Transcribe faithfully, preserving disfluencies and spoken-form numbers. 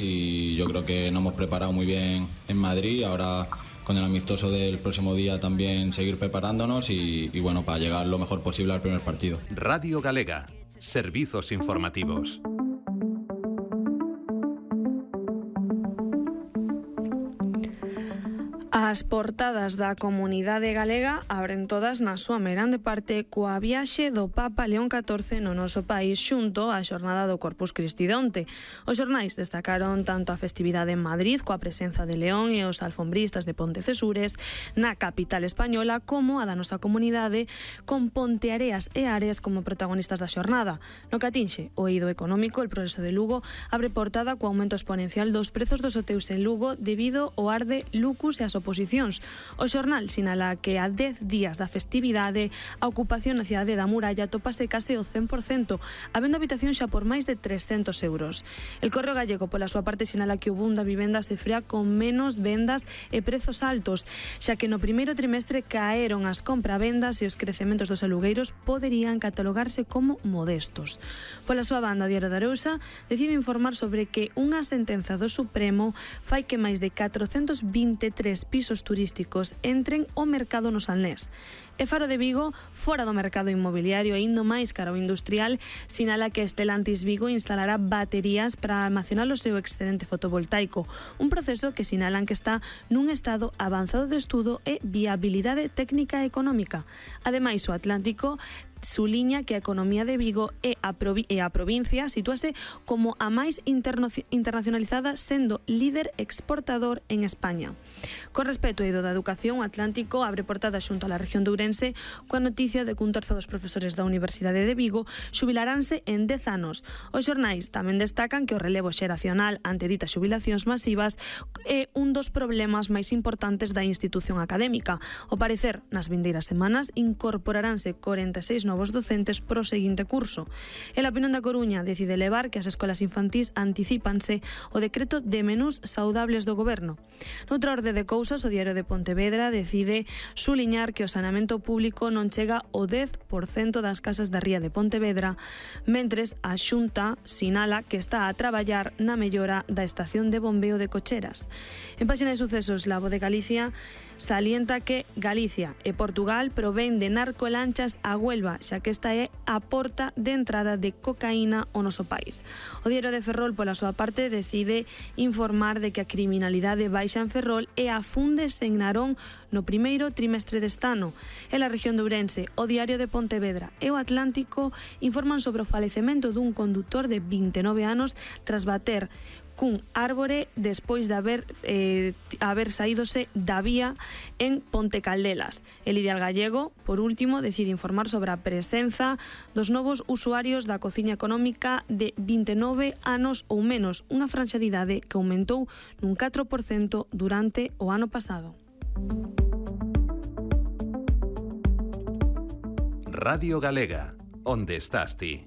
y yo creo que nos hemos preparado muy bien en Madrid. Ahora con el amistoso del próximo día también seguir preparándonos y, y bueno, para llegar lo mejor posible al primer partido. Radio Galega, servizos informativos. As portadas da comunidade galega abren todas na súa merande parte coa viaxe do Papa León catorce no noso país xunto á xornada do Corpus Christi de onte. Os xornais destacaron tanto a festividade en Madrid coa presenza de León e os alfombristas de Pontecesures na capital española como a da nosa comunidade con Ponteareas e Ares como protagonistas da xornada. No que atinxe o eido económico, el Progreso de Lugo abre portada co aumento exponencial dos prezos dos hoteus en Lugo debido ao arde Lucus e as oposicións. O xornal sinala que a dez días da festividade a ocupación na cidade da Muralla topase case o cen por cento, habendo habitación xa por máis de trescentos euros. El Correo Gallego, pola súa parte, sinala que o boom da vivenda se frea con menos vendas e prezos altos, xa que no primeiro trimestre caeron as compravendas e os crecementos dos alugueiros poderían catalogarse como modestos. Pola súa banda, o Diario da Arousa decide informar sobre que unha sentenza do Supremo fai que máis de catrocentos vinte e tres pisos turísticos entren ao mercado no Salnés. E Faro de Vigo, fora do mercado inmobiliario e indo máis cara ao industrial, sinala que Stellantis Vigo instalará baterías para almacenar o seu excedente fotovoltaico, un proceso que sinalan que está nun estado avanzado de estudo e viabilidade técnica e económica. Ademais, o Atlántico suliña que a economía de Vigo e a, provi e a provincia sitúase como a máis internacionalizada, sendo líder exportador en España. Con respecto ao eido da educación, o Atlántico abre portada xunto á región de Ourense coa noticia de que un terzo dos profesores da Universidade de Vigo xubilaranse en dez anos. Os xornais tamén destacan que o relevo xeracional ante ditas xubilacións masivas é un dos problemas máis importantes da institución académica. Ao parecer, nas vindeiras semanas incorporaranse corenta e seis novos docentes pro seguinte curso. El Opinión da Coruña decide levar que as escolas infantís anticípanse o decreto de menús saudables do goberno. Noutra orde de cousas, o Diario de Pontevedra decide suliñar que o saneamento público non chega ao dez por cento das casas da ría de Pontevedra, mentres a Xunta sinala que está a traballar na mellora da estación de bombeo de Cocheras. En páxina de sucesos, La Voz de Galicia salienta que Galicia e Portugal provén de narcolanchas a Huelva, xa que esta é a porta de entrada de cocaína ao noso país. O Diario de Ferrol, pola súa parte, decide informar de que a criminalidade baixa en Ferrol e afúndese en Narón no primeiro trimestre deste ano. En a región de Ourense, o Diario de Pontevedra e o Atlántico informan sobre o falecemento dun condutor de vinte e nove anos tras bater cun árbore despois de haber, eh, haber saídose da vía en Ponte Caldelas. El Ideal Gallego, por último, decide informar sobre a presenza dos novos usuarios da cociña económica de vinte e nove anos ou menos, unha franxa de idade que aumentou nun catro por cento durante o ano pasado. Radio Galega, onde estás ti?